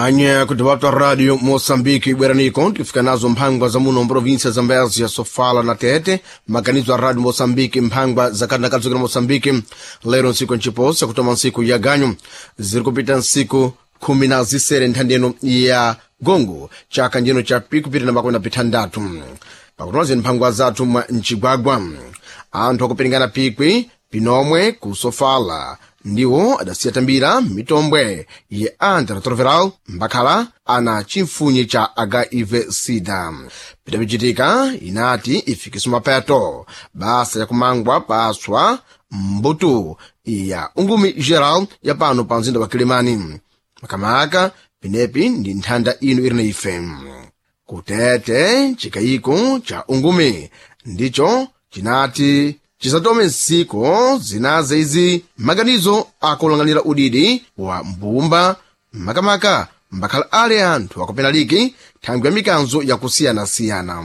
Anya kutipata Radio Moçambique ibweraniko tikufika nazo mphangwa za muno mprovinsia Zambezia, Sofala na Tete. Maganizo a Radio Moçambique mphangwa zakati nakadzokera Moçambique lero ntsiku nchiposa kutoma ntsiku ya ganyu ziri kupita ntsiku 16 nthandeno ya gongo chaka njeno cha pikupita na makumi na pithandatu pakutoza mphangwa zathu mwa mcigwagwa anthu akupiringana pikwi pinomwe ku Sofala ndiwo adasiya tambira mitombwe ye antirretroviral mbakhala ana chimfunyi cha HIV sida. Pidapichitika inati ifikiso mapeto basa yakumangwa paswa mbutu ya ungumi geral ya pano pa mzinda wa Kilimani makamaka pinepi ndi nthanda ino iri na ife kutete chikayiko cha ungumi ndicho chinati chisatome ntsiko zinaze izi maganizo akulanganira udidi wa mbumba makamaka mbakhala ale anthu akupena liki thangwi ya mikanzo yakusiyanasiyana.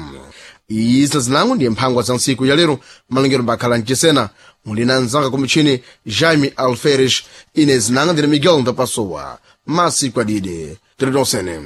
Izi zinango ndiye mphangwa za ntsiku ya lero malengero mbakhala mchisena muli na mzanga kumutchini Jaime Alferes ine zinanga ndine Miguel Ndapasowa masiku adide tiritonsene.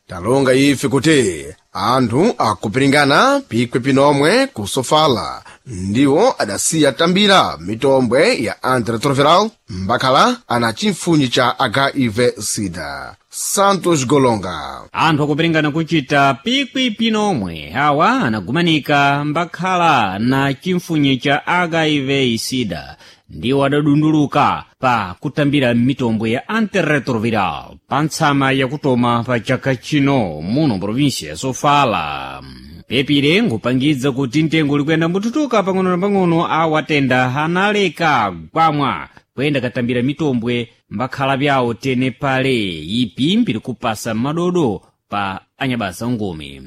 Talonga ife kuti anthu akupiringana pikwi pinomwe ku Sofala ndiwo adasiya tambira mitombwe ya antirretroviral mbakhala ana chimfunyi cha HIV sida. Santos Golonga. Anthu akupiringana kuchita pikwi pinomwe awa anagumanika mbakhala na chimfunyi cha HIV sida ndiwo adadunduluka pa kutambira mitombwe ya antirretroviral pa ntsama yakutoma pa chaka chino muno provinsia ya Sofala. Pepire nkupangidza kuti mtengo ulikuyenda mbututuka pang'ono na pang'ono awatenda analeka gwamwa kuyenda katambira mitombwe mbakhala byawo tene pale ipi mbiri kupasa madodo pa anyabasa ngumi.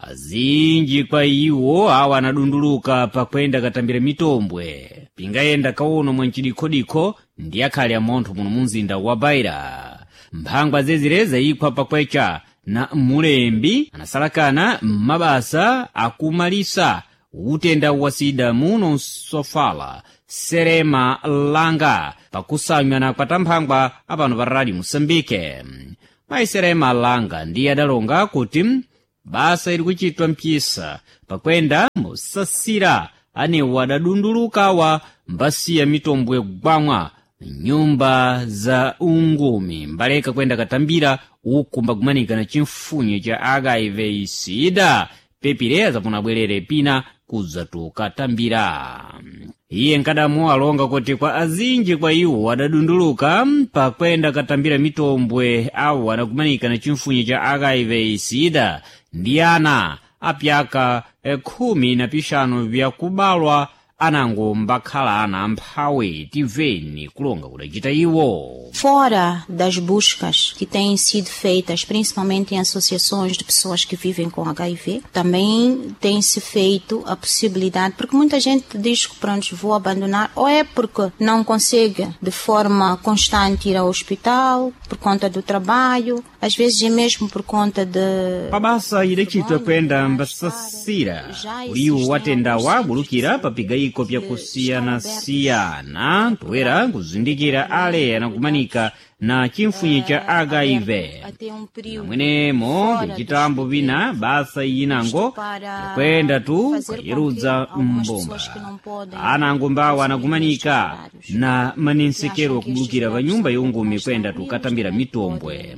Azinji kwa iwo awa anadunduluka pakwenda katambira mitombwe pingayenda kauno mwa mchidikhodikho ndi akhale amontho muno mumzinda wa Baira. Mphangwa zezire zayikhwa pakwecha na mulembi anasalakana m'mabasa akumalisa utenda wa sida muno Sofala Serema Langa pakusanywa kwa tamphangwa apano pa Radio Moçambique. Mayi Serema Langa ndiye adalonga kuti basa ili kuchitwa mpisa pakwenda musasira anewo adadundulukawa mbasiya mitombwe gwamwa nyumba za ungumi mbaleka kwenda katambira uku mbagumanika na chimfunyi cha HIV sida pepire zapona bwerere pina kudzatuka tambira. Iye nkadamu alonga kuti kwa azinji kwa iwo adadunduluka pakwenda katambira mitombwe awo anagumanika na chimfunyi cha HIV sida ndi ana apyaka 15 vyakubalwa anango mbakhala ana amphawi tiveni kulonga kudacita iwo. Fora das buscas que têm sido feitas, principalmente em associações de pessoas que vivem com HIV, também tem-se feito a possibilidade, porque muita gente diz que pronto, vou abandonar, ou é porque não consegue de forma constante ir ao hospital, por conta do trabalho, às vezes é mesmo por conta de... Pabasa idacitwa kuyenda mbasasira uliwo watenda wabulukira papigayiko pyakusiyanasiyana toera nkuzindikira ale anakumanika na chimfunyi cha HIV namwenemo pichitambo pina basa iyinango yakwenda tu kayerudza mbomba anango mbawo anakumanika na manensekero akubulukira pa nyumba yongumi kwenda tukatambira mitombwe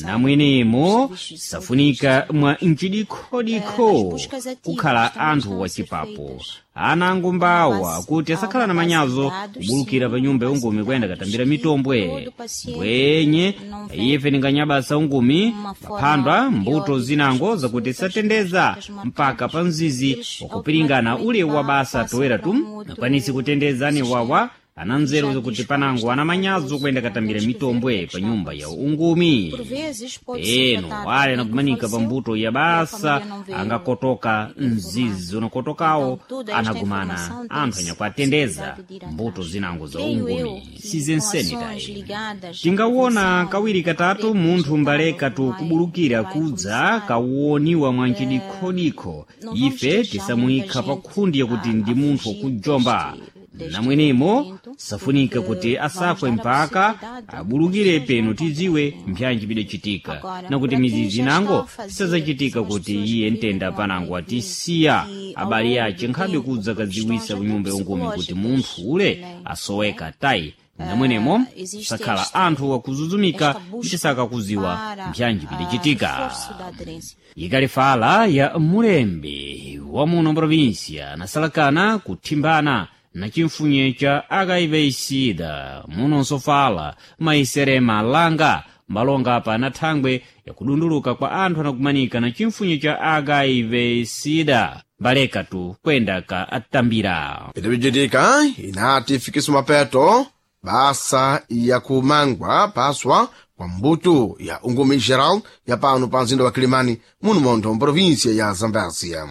namwenemo safunika mwa mchidikhodikho kukhala anthu wachipapo anango mbawa kuti asakhala na manyazo kubulukira pa nyumba yongumi kuyenda katambira mitombwe mbwenye ife ninganyabasa ungumi paphandwa mbuto zinango zakuti satendeza mpaka pa mzizi wakupiringana ule wa basa toera tu nakwanisi kutendeza ane wawa Ananzeru zakuti panango anamanyazo kuyenda katambira mitombwe pa nyumba ya ungumi. Por vezes pode se Eno tratar de wale alguém que anakumanika pa faleceu mbuto ya e a basa família não veio angakotoka mzizi unakotokawo Então, toda esta anagumana informação tem anthu anyakuatendeza possibilidade de ir mbuto atrás. zinango za Creio eu ungumi que com sizenseni ações tayi. ligadas à Tingawona prevenção, kawiri à katatu rede munthu digital, mbaleka tu vai, kubulukira vai kudza começar. kawoniwa mwanchidikhodikho Não vamos ife deixar muita tisamuyikha pa gente khundi yakuti a, ndi a munthu fugir wakujomba. deste Namwenemo tratamento, safunika porque kuti vamos asakwe dar a mpaka possibilidade das abulukire pessoas peno não tidziwe contraírem. mpyanji bidachitika Agora, nakuti para quem mizizi já está nango a fazer, sizachitika são as kuti pessoas que iye vivem ntenda com panango HIV, atisiya que ao abale longo ace do nkhabe tempo, kudza por kadziwisa questões ku até nyumba yongumi kuti munthu psicológicas ule também, não é? asoweka tayi. Namwenemo Existe sakhala esta, anthu akuzuzumika esta busca cisakakuziwa para mpyanji bidachitika. reforço da aderência. Ikalifala ya mulembi wa muno provinsia nasalakana kuthimbana na chimfunye cha HIV sida munonso fala maiserema langa mbalonga pa na thangwe yakudunduluka kwa anthu anakumanika na chimfunye cha HIV sida mbaleka tu kwenda ka atambira. Pitapichitika inati ifikiso mapeto basa yakumangwa paswa kwa mbuto ya ungumi geral ya pano pa mzinda wa Kilimani muno montho mprovinsia ya Zambésia.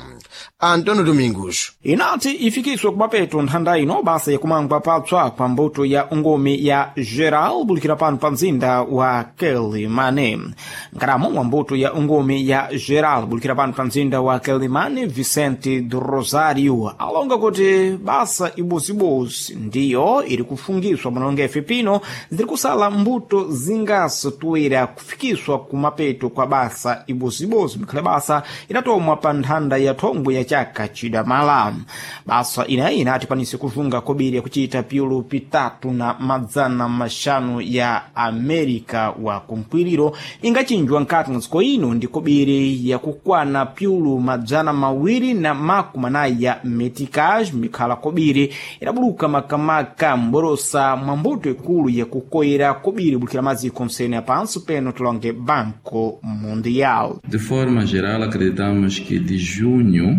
Antônio Domingos. Inati ifikiswe kumapeto nthanda ino basa yakumangwa patswa kwa mbuto ya ungomi ya geral bulikira pano pa mzinda wa Quelimane. Nkaramo wa mbuto ya ungomi ya geral bulikira pano pa mzinda wa Quelimane, Vicente do Rosário alonga kuti basa ibozibozi ndiyo iri kufungiswa manonga efe pino ziri kusala mbuto zingaso toera kufikiswa kumapeto kwa basa ibozibozi mikhale basa inatomwa pa nthanda ya thongwe ya chaka chidamala. Basa inayi inati kwanise kuvunga kobiri yakuchita piulu pitatu na madzana maxanu ya Amerika wa kumkwiriro ingachinjwa nkati mwa dziko ino ndi kobiri yakukwana piulu 240 ya meticage mikhala kobiri idabuluka makamaka mborosa mwa mbuto ikulu yakukoyera kobiri bulikira maziko msene ya panso peno tilonge Banco Mundial. De forma geral, acreditamos que de junho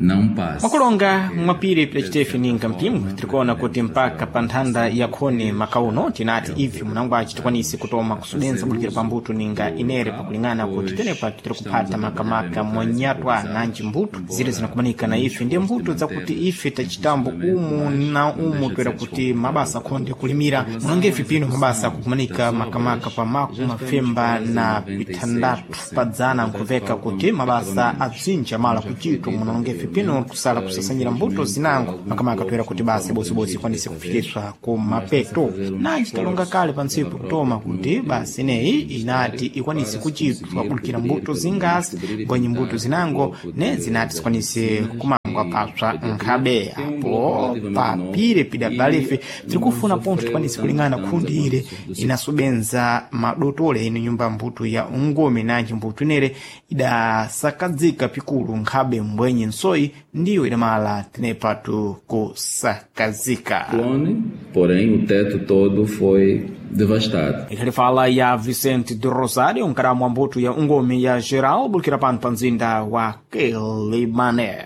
não passe. Mwakulonga mwapiri pidacitefe ninga mpimwe tirikuona kuti mpaka pa nthanda ya khoni makauno tinati ife munangwaci tikwanise kutoma kusudenza bulikira pa mbuto ninga inere pakulingana kuti tenepa tiri kuphata makamaka mwanyatwa nanji mbuto zire zinakumanika na ife ndiye mbuto zakuti ife tachitambo umu na umu toera kuti mabasa akhonde kulimira munonga ife pino mabasa akukumanika makamaka pa maku mafemba na pithandatu padzana nkhuveka kuti mabasa atsinja mala kuchitwa munonga ife pino kusala kusasanyira mbuto zinango makamaka toera kuti basa ibozibodzi ikwanise kufikiswa ku mapeto. Nanji talonga kale pa ntsiku kutoma kuti basa ineyi inati ikwanise kuchitwa kulikira mbuto zingasi mbwenyi mbuto zinango ne zinati zikwanise kumangwa papsa nkhabe apo papire pidabalefe tiri kufuna pontho tikwanise kulingana khundi ire inasubenza madotole ino nyumba mbuto ya ungome nanji mbuto inere idasakadzika pikulu nkhabe mbwenyi nsoyi ndiyo idamala tinepatu kusakazika. Clone, porém o teto todo foi devastado. Ikhali fala ya Vicente do Rosário, nkaramu wa mbuto ya ungomi ya geral bulikira pano pa mzinda wa Quelimane.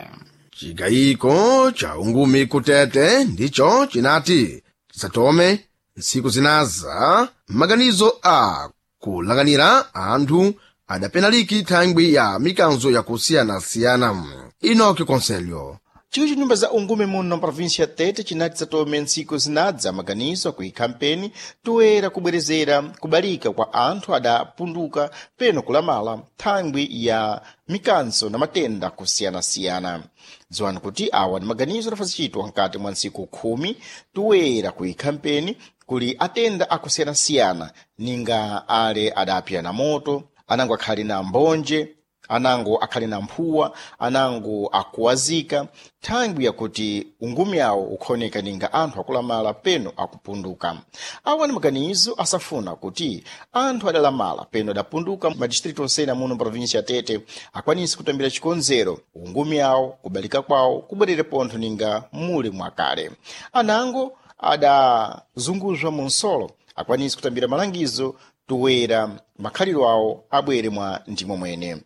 Chigayiko cha ungumi kutete ndicho chinati tisatome ntsiku zinaza maganizo a kulanganira anthu adapenaliki thangwi ya mikanzo yakusiyanasiyana. Inoki Conselho. Chiwi cha nyumba za ungume muno mprovinsia ya Tete chinati satome ntsiku zinadza maganizo akuikhampeni toera kubwerezera kubalika kwa anthu adapunduka peno kulamala thangwi ya mikanso na matenda kusiyanasiyana. Dziwani kuti awa ni maganizo adafazicitwa nkati mwa ntsiku 10 toera kuikhampeni kuli atenda akusiyanasiyana ninga ale adapya na moto, anango akhali na mbonje, anango akhali na mphuwa, anango akuwazika thangwi yakuti ungumi awo ukhaoneka ninga anthu akulamala peno akupunduka. Awa ni maganizo asafuna kuti anthu adalamala peno adapunduka madistritu onsene muno mprovinsia ya Tete akwanise kutambira chikonzero ungumi awo kubalika kwawo kubwerere pontho ninga muli mwakale. Anango adazunguzwa mu nsolo akwanise kutambira malangizo toera makhaliro awo abwere mwa ndimo mwene.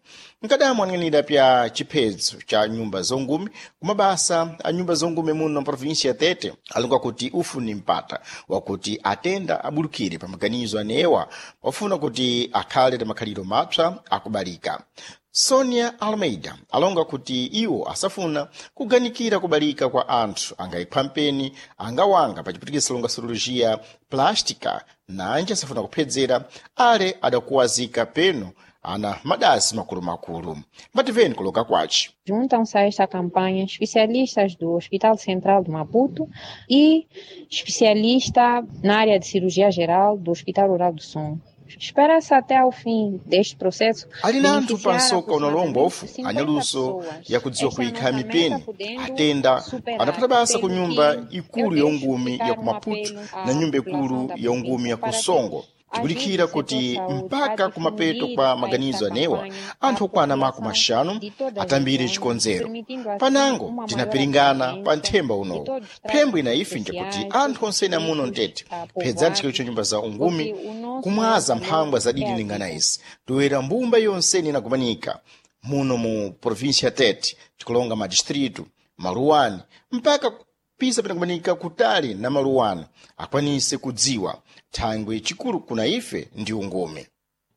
Nkadamu aning'anira pya chiphedzo cha nyumba zongumi kumabasa a nyumba zongumi muno mprovinsia ya Tete alonga kuti ufu ni mpata wakuti atenda abulukire pa maganizo anewa wafuna kuti akhale na makhaliro mapsa akubalika. Sonia Almeida alonga kuti iwo asafuna kuganikira kubalika kwa anthu angaipha mpeni angawanga pachiputikisa longa cirurgia plástica nanji asafuna kuphedzera ale adakuwazika peno ana madasi makulumakulu. Mbativeni kuloka kwaci. Juntam-se a esta campanha especialistas do Hospital Central de Maputo e especialista na área de cirurgia geral do Hospital Rural do Songo. Espera-se até ao fim deste processo. Ali na anthu pa nsoka unalombofu anyaluso yakudziwa kuyikha mipeni atenda anapata basa ku nyumba ikulu ya ungumi ya ku Maputo na nyumba ikulu ya ungumi ya ku Songo. Tikulikhira kuti mpaka kumapeto kwa maganizo anewa anthu okwana 50 atambire chikonzero. Panango tinapiringana pa nthemba unowu. Phembo ina ife njakuti anthu onsene amuno mtete phedzani chikalo cha nyumba za ungumi kumwaza mphangwa zadidi lingana izi toera mbumba yonsene inakumanika muno mu província Tete, tikulonga madistritu maluwani mpaka pisa pinakumanika kutali na maluwani akwanise kudziwa thangwe chikulu kuna ife ndi ungumi.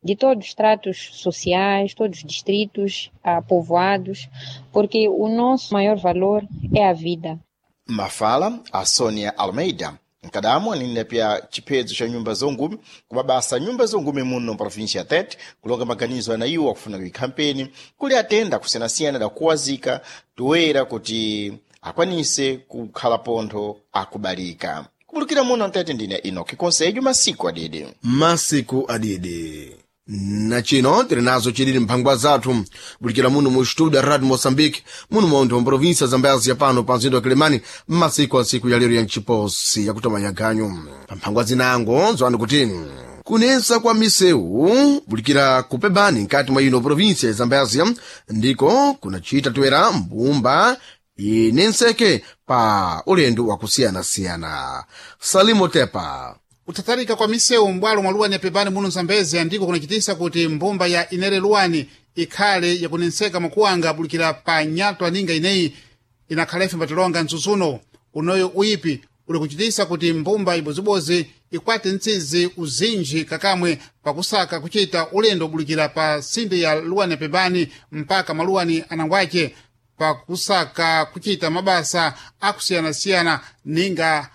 De todos os tratos sociais, todos os distritos, povoados, porque o nosso maior valor é a vida. Mafala a Sonia Almeida nkadamu anene pya chiphedzo cha nyumba zongumi kumabasa nyumba zongumi muno mprovinsia ya Tete kulonga maganizo ana iwo akufuna kuyikha mpeni kuli atenda kusiyanasiyana adakuwazika toera kuti akwanise kukhala pontho akubalika. Kupulukira muno mtete ndine Enoki Konsejo masiku adidi. Masiku adidi. Na chino tili nazo chilili mphangwa zathu bulikira muno mu studio radio Moçambique muno montho wa província Zambezia pano pa mzinda wa Kilimani mmasiku a ntsiku ya lero ya mchiposi yakutomanya ganyu. Pa mphangwa zinango zwani kuti kunensa kwa misewu bulikira kupebani nkati mwa ino província ya Zambezia ndiko kunachita toera mbumba inenseke pa ulendo wakusiyanasiyana. Salimo Tepa. Kuthatharika kwa misewu m'bwalo mwa luwani ya pepani muno Zambezia ndiko kunachitisa kuti mbumba ya Inere Luwani ikhale yakunenseka mwakuwanga bulikira pa nyatwa ninga ineyi inakhala ife mbatilonga mtsutsuno unoyo uyipi uli kuchitisa kuti mbumba ibozibozi ikwate mtsizi uzinji kakamwe pakusaka kuchita ulendo bulikira pa sinde ya luwani ya pepani mpaka maluwani anangwace pakusaka kuchita mabasa akusiyanasiyana ninga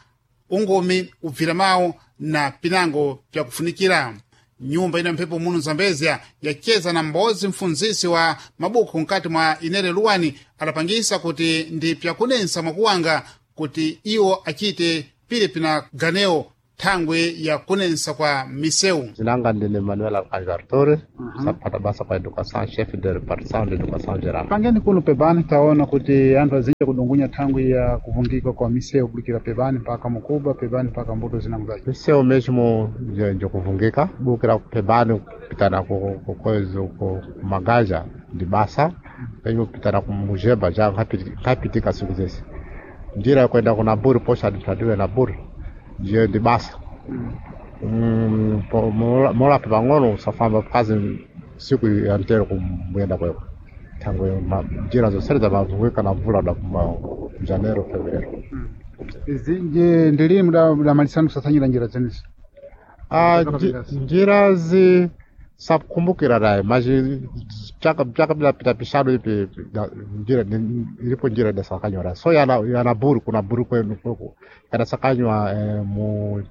ungomi ubvira mawu na pinango pyakufunikira. Nyumba ina mphepo muno Zambezia yacheza na m'bodzi mfunzisi wa mabuku mkati mwa Inere Luwani adapangisa kuti ndi pyakunensa mwakuwanga kuti iwo achite pili pina ganeo thangwe ya kunensa kwa misewu. Zinanga ndine Manuel Alcántara Torres, sapata basa kwa educação, chefe de repartição de educação geral. Pangeni kuno pebani taona kuti anthu azinja kudungunya thangwi ya kuvungika kwa misewu kulikira pebani mpaka Mukuba, pebani mpaka mbuto zinango zace. Misewu mesmo njokuvungika, bukira pebani kupitana ku kozo ku magaja ndi basa, penyo kupitana ku mujeba já nkapitika siku zese. Njira ya kwenda kuna buri posha administrativa na buri ndiyo ndi basa. Molapo pang'ono usafamba kazi siku ya mtero kumuyenda kweko thangwe njira zonsene zamavungika na mvula da kuma janeiro fevereiro. Zinje ndilini mudamalisana kusasanyira njira zenezi? Njirazi sakukumbukira naye mas chaka bilapita pishano ipi njira ilipo njira idasakanywa so yana buru kuna buru kwenu kweko yadasakanywa mu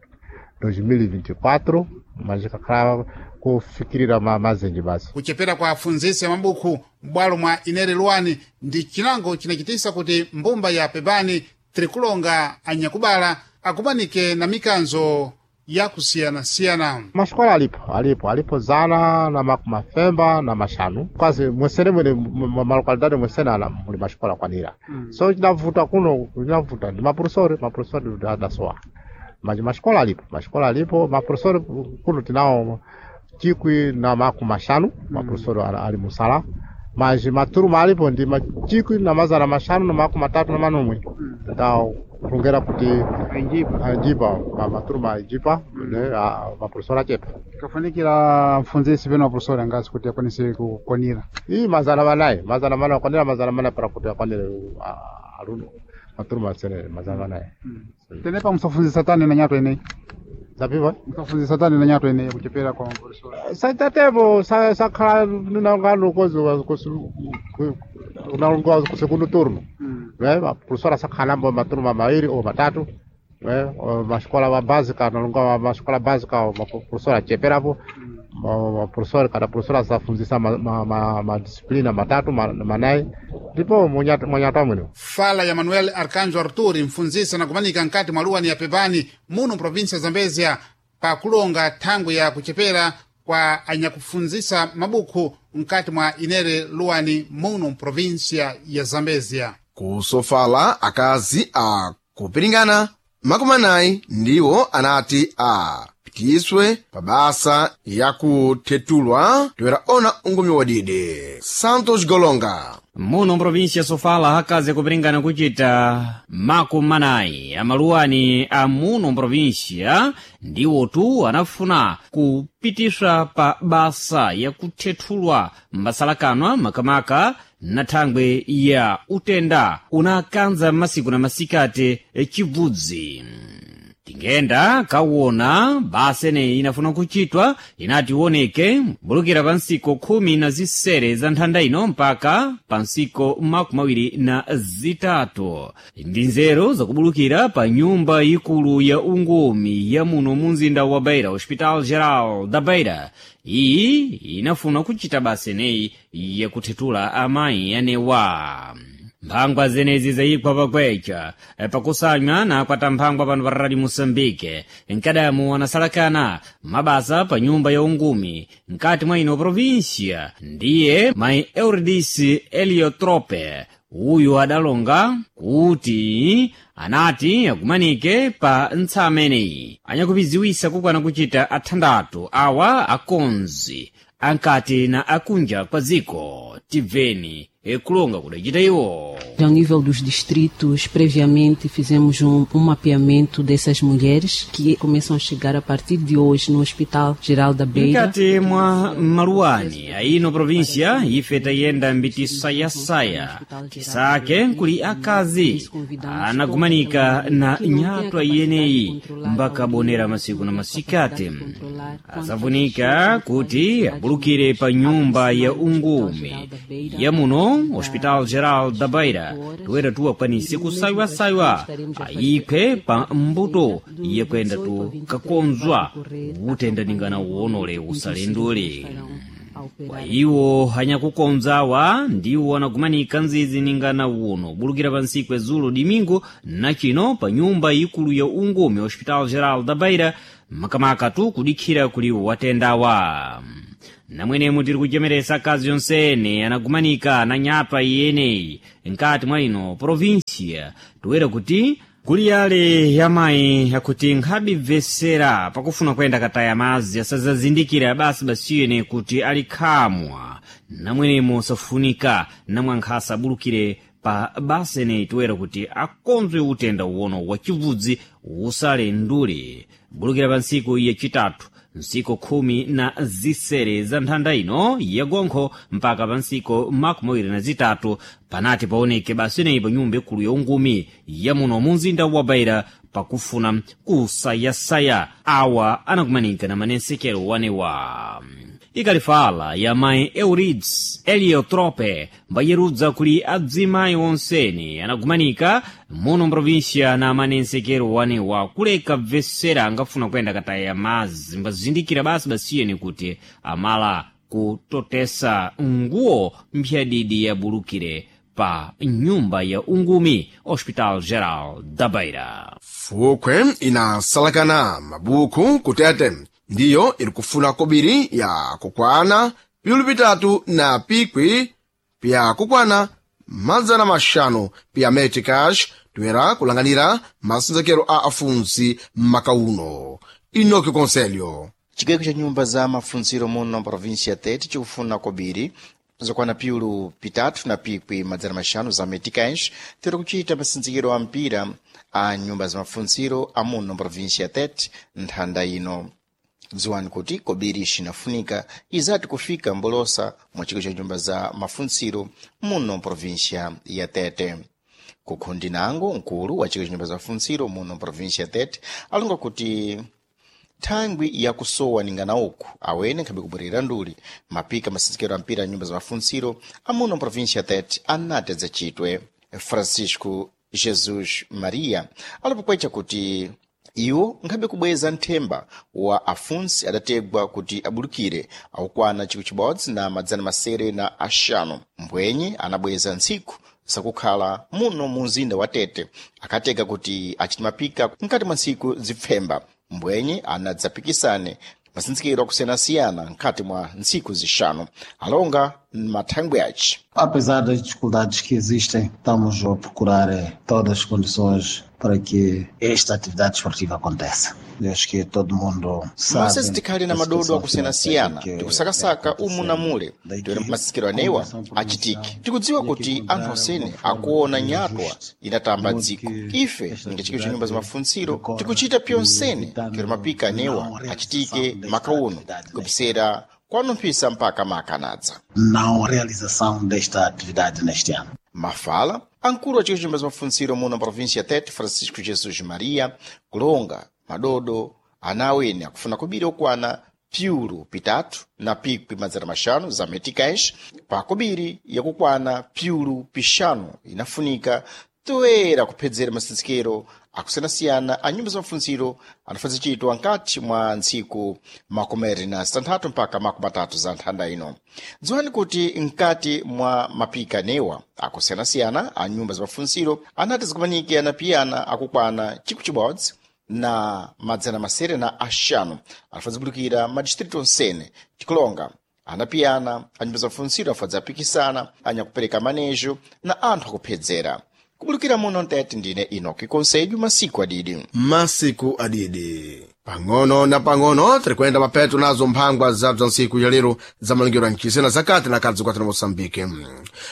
2024 mas ikakhala kufikirira mazenji basi. Kuchepera kwa afunzisi ya mabuku m'bwalo mwa Inere Luwani ndi chinango chinachitisa kuti mbumba ya pebani tirikulonga anyakubala akumanike na mikanzo yakusiyanasiyana. Masikola alipo alipo alipo zana na makumafemba na mashanu kwazi mwesene mwene malokalidade mwesene ala muli masikola kwanira. So chinavuta kuno chinavuta ndi maprofesori maprofesori adasowa maji masikola alipo masikola alipo maprofesori kuno tinawo 15,000 maprofesori ali musala maji maturuma alipo ndi 1537. Tawo kulongera kuti anjipa maturuma anjipa. ne maprofessor achepa. Kafunikira mfunzisi peno maprofessor angasi kuti akwanise kukwanira. Ii 400, 400 akwanira 400 para kuti akwanire aluno maturma sene 400. Tenepa musafunzisa tani na nyato ineyi. Zapiva? Musafunzisa tani na nyato ineyi kuchepera kwa maprofessor. Saitatevo sakhala nangano kozi nalongoza ku segundo turno. Né? A professora sakhalambo maturma mairi ou matatu. Né? Uma escola básica, nalonga uma escola básica, uma professora cheperapo. Uma professora, cada professora safunzisa ma disciplina matatu manai. Ndipo munyata mwino. Fala ya Manuel Arcanjo Arturi, mfunzisi anakumanika nkati mwa luwani ya Pebani muno provinsia ya Zambezia pakulonga thangwi ya kuchepera kwa anyakufunzisa mabuku nkati mwa inere luwani muno provinsia ya Zambezia. Kusofala akazi a kupiringana 40 ndiwo anati a pitiswe pa basa yakuthetulwa toera ona ungumi wadidi. Santos Golonga. Muno mprovinsia Sofala akazi akupiringana kuchita 40 amaluwani a muno mprovinsia ndiwotu anafuna kupitiswa pa basa yakuthethulwa mbasalakanwa makamaka na thangwe ya utenda unakanza masiku na masikati chibvudzi. Tingenda kawona basa eneyi inafuna kuchitwa inati ioneke mbulukira pa nsiku 16 za nthanda ino mpaka pa nsiku 23 ndi nzeru zakubulukira pa nyumba ikulu ya ungumi ya muno mu mzinda wa Beira, Hospital Geral da Beira. Iyi inafuna kuchita basa eneyi yakuthethula amayi anewa. Mphangwa zenezi zayikwa pakwecha pakusanywa na akwata mphangwa pano pa Radio Moçambique nkadamu anasalakana mabasa pa nyumba ya ungumi nkati mwa ino província ndiye mayi Eurydice Eliotrope uyu adalonga kuti anati akumanike pa ntsameneyi anyakupiziwisa kukwana kuchita athandathu awa akonzi ankati na akunja kwa dziko. Tibveni ekulonga kudacita iwo. Ao nível dos distritos, previamente fizemos mapeamento dessas mulheres que começam a chegar a partir de hoje no Hospital Geral da Beira. Mkati mwa maluwani aino província ife tayenda mbitisayasaya tisake nkuli akazi anagumanika na nyatwa iyeneyi mbakabonera masiku na masikati asafunika kuti abulukire pa nyumba ya ungumi ya muno Hospital Geral da Beira toera tuwakwanise kusaiwasaiwa ayiphe pa mbuto yakwenda tu kakonzwa utenda ningana uwonole usalendule. Kwa iwo anyakukonzawa ndiwo anagumanika nzizi ningana uno bulukira pa nsiku ezulo dimingo nachino pa nyumba ikulu ya ungumi Hospital Geral da Beira makamaka tu kudikhira kuli watendawa. Namwenemo tiri kuchemeresa akazi yonsene anagumanika na nyatwa iyeneyi nkati mwa ino província toera kuti kuli yale yamayi akuti nkhabibvesera pakufuna kuyenda kataya madzi asazazindikira basi basiyene kuti ali khamwa namwenemo safunika namwe ankhasa abulukire pa basa eneyi toera kuti akonzwe utenda uwono wa chibvudzi usale ndule bulukira pa ntsiku yachitatu nsiku 16 za nthanda ino yagonkho mpaka pa nsiku 23 panati paoneke basa ineyi pa nyumba ikulu ya ungumi ya muno mu mzinda wa Beira pakufuna kusayasaya awa anakumanika na manensekero wanewa. Ikalifala ya mayi Eurides Eliotrope mbayerudza kuli adzimayi onsene anagumanika muno mprovinsia na manensekero wanewa kuleka bvesera angafuna kuyenda kataya madzi mbazindikira basi basiyeni kuti amala kutotesa nguwo mphyadidi yabulukire pa nyumba ya ungumi Hospital Geral da Beira. Fukwe inasalakana mabuku kutete ndiyo iri kufuna kobiri ya kukwana piulu pitatu na pikwi pya kukwana 500 pya meticash toera kulanganira masinzekero a afunsi makauno. Inoki Conselho. Chigweko cha nyumba za mafunziro muno província ya Tete chikufuna kobiri Zokwana piulu pitatu na pikwi madzana maxanu za meticais tiri kuchita masindzikiro a mpira a nyumba za mafuntsiro amuno província ya Tete nthanda ino. Dziwani kuti kobiri ixinafunika izati kufika mbolosa mwa chiko cha nyumba za mafuntsiro muno província ya Tete. Kukhundi nango mkulu wa chiko cha nyumba za mafuntsiro muno província ya Tete alonga kuti thangwi yakusowa ningana uku awene nkhabe kubwerera nduli mapika masinzikiro a mpira a nyumba za mafuntsiro amuno província ya Tete anati adzachitwe. Francisco Jesus Maria alipokwecha kuti iwo nkhabe kubweza nthemba wa afunsi adategwa kuti abulukire akukwana chikwi chibodzi na madzana masere na axanu mbwenye anabweza ntsiku zakukhala muno mu mzinda wa Tete akatega kuti achite mapika mkati mwa ntsiku zipfemba mbwenye anadzapikisane masinzikiro akusiyana-siyana mkati mwa ntsiku zixanu alonga mathangwi aci. Apesar das dificuldades que existem, estamos a procurar todas as condições para que esta atividade esportiva aconteça. Eu acho que todo mundo sabe. Mase tikhali na madodo akusiyana-siyana tikusakasaka umu na mule toera masikiro anewa achitike. Tikudziwa kuti anthu osene akuona nyatwa inatamba dziko. Ife ninga chiko cha nyumba za mafuntsiro tikuchita pyonsene toera mapika anewa achitike makauno kupisera kwanumphisa mpaka makanadza. Não realização desta atividade neste ano. Mafala ankulu wa chiko cha nyumba za mafuntsiro muno província ya Tete Francisco Jesus Maria kulonga madodo ana awene akufuna kobiri okwana piulu pitatu na pikwi madzana maxanu za meticais pa kobiri yakukwana piulu pixanu inafunika toera kuphedzera masinzikiro akusiyanasiyana a nyumba za mafuntsiro anafuna zichitwa nkati mwa ntsiku makomere na zitanthatu mpaka makumi atatu za nthanda ino. Dziwani kuti nkati mwa mapika newa akusiyanasiyana a nyumba za mafuntsiro anati zikumanike anapiyana akukwana chikwi chibodzi na madzana masere na axanu anafuna zibulukira madistritu onsene tikulonga anapiyana a nyumba za mafuntsiro afadza apikisana anyakupereka manejo na anthu akuphedzera. Kubulukira muno Mtete ndine Enoki Conselho masiku adidi. Masiku adidi pang'ono na pang'ono tiri kuyenda mapeto nazo mphangwa za bza ntsiku ya lero za malingiro a mchisena zakati na kadzi kwathu na Moçambique.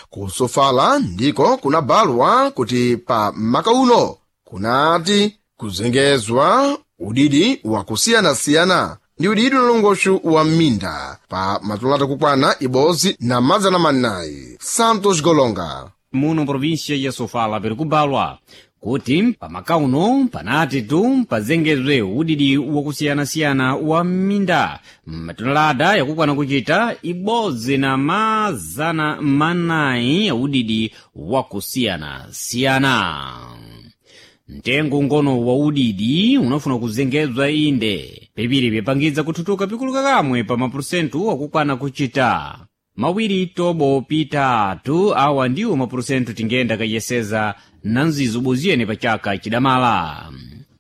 Kusofala ndiko kunabalwa kuti pa maka uno kunati kuzengezwa udidi wakusiyanasiyana ndi udidi unalongoxu wa minda pa matulata kukwana ibodzi na madzana manayi. Santos Golonga. Muno província ya Sofala piri kubalwa kuti pamakauno panati tu pazengezwe udidi wakusiyanasiyana wa minda matonelada yakukwana kuchita ibodzi na mazana manayi ya udidi wakusiyanasiyana. Mtengo ngono wa udidi unafuna kuzengezwa inde pepiri pyapangidza kuthutuka pikuluka kamwe pa mapurusentu akukwana kuchita mawiri tobo pitatu. Awa ndiwo mapurusentu tingenda kayeseza na nzizo boziyene pa chaka chidamala.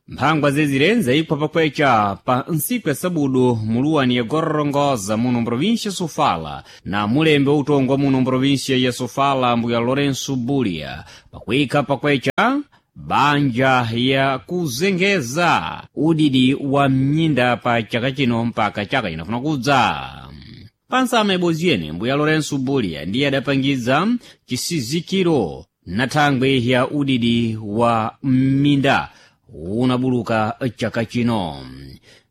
Mphangwa zezire nzayikwa pakwecha pa ntsiku ya sabudu muluwani ya Gorongosa muno mprovinsia Sofala na mulembe wautongwa muno mprovinsia ya Sofala mbuya Lourenço Bulia pakuika pakwecha banja ya kuzengeza udidi wa mnyinda pa chaka chino mpaka chaka chinafuna kudza. Pansama iboziyene mbuya Lourenço Bulia ndiye adapangidza chisizikiro na thangwi ya udidi wa mminda unabuluka chaka chino.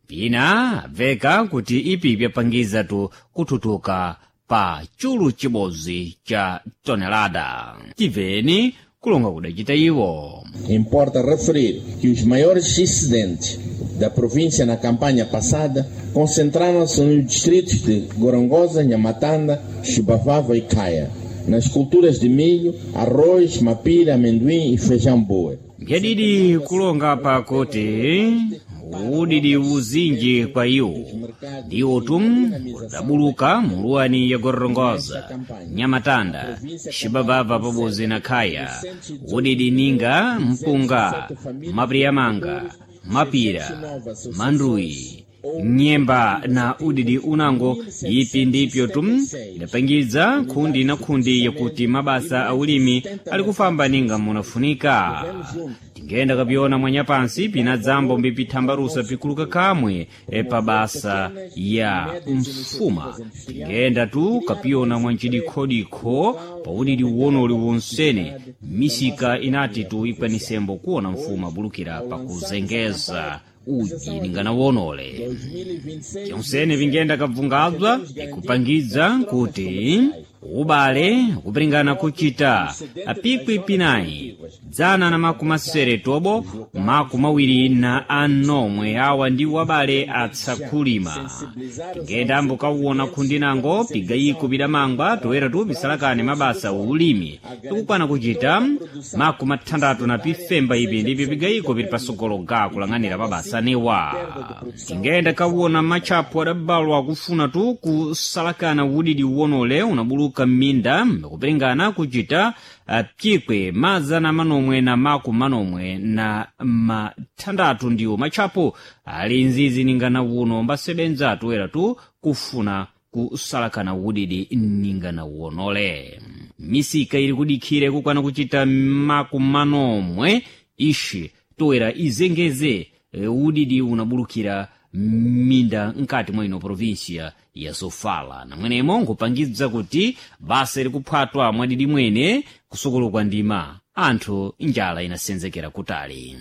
Pina bveka kuti ipi pyapangiza tu kuthutuka pa chulu chibodzi cha tonelada. Tibveni kulonga kudacita iwo. Importa referir que os maiores excedentes da província na campanha passada concentraram-se nos distritos de Gorongosa, Nhamatanda, Chibavava e Caia, nas culturas de milho, arroz, mapira, amendoim e feijão boa. Mbyadidi kulonga pakuti udidi uzinji kwa iwo ndiwo tum udabuluka muluwani ya Gorongosa, Nyamatanda, Xibabava pabodzi na Khaya, udidi ninga mpunga, mapiriyamanga, mapira, manduyi, Nyemba na udidi unango ipi ndipyo tu idapangidza khundi na khundi yakuti mabasa a ulimi ali kufamba ninga munafunika. Tingenda kapyona mwanyapansi pina dzambo mbipithambarusa pikuluka kamwe pa basa ya mfuma. Tingenda tu kapyona mwancidikhodikho pa udidi uwonoli wonsene misika inati tu ikwanisembo kuona mfuma bulukira pakuzengeza uji ninganawonole. Tyonsene vingenda kabvungadzwa ikupangidza kuti ubale kupiringana kuchita apikwi pinayi 169 awa ndiwo abale atsakulima. Tingenda ambukauwona khundi nango pigayiko pidamangwa toera tu pisalakane mabasa ulimi ikukwana kuchita 65 ipi ndipyo pigayiko pili pasogolo ga kulang'anira mabasa newa. Tingenda kawona matchapo adabalwa kufuna tu kusalakana udidi uwonole unabuluka m'minda kupiringana kuchita pyikwe 496 ndiwo matchapo ali nzizi ningana uno mbasebenza toera tu kufuna kusalakana udidi ningana uwonole. Misika ili kudikhire kukwana kuchita 40 ishi toera izengeze udidi unabulukira minda nkati mwa ino provinsia ya Sofala, namwenemo nkupangidza kuti basa likuphwatwa mwadidi mwene kusukulu kwa ndima anthu njala inasenzekera kutali.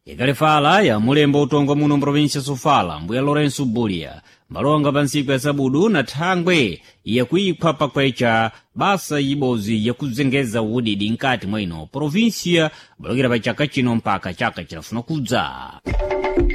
Ikalefala ya mulembo utongwa muno mprovinsia Sofala, mbuya Lourenço Bulia malonga pa ntsiku ya sabudu na thangwe yakuiphwa pakwecha basa ibozi yakuzengeza udidi nkati mwa ino provinsia bulukira pa chaka chino mpaka chaka chilafuna kudza.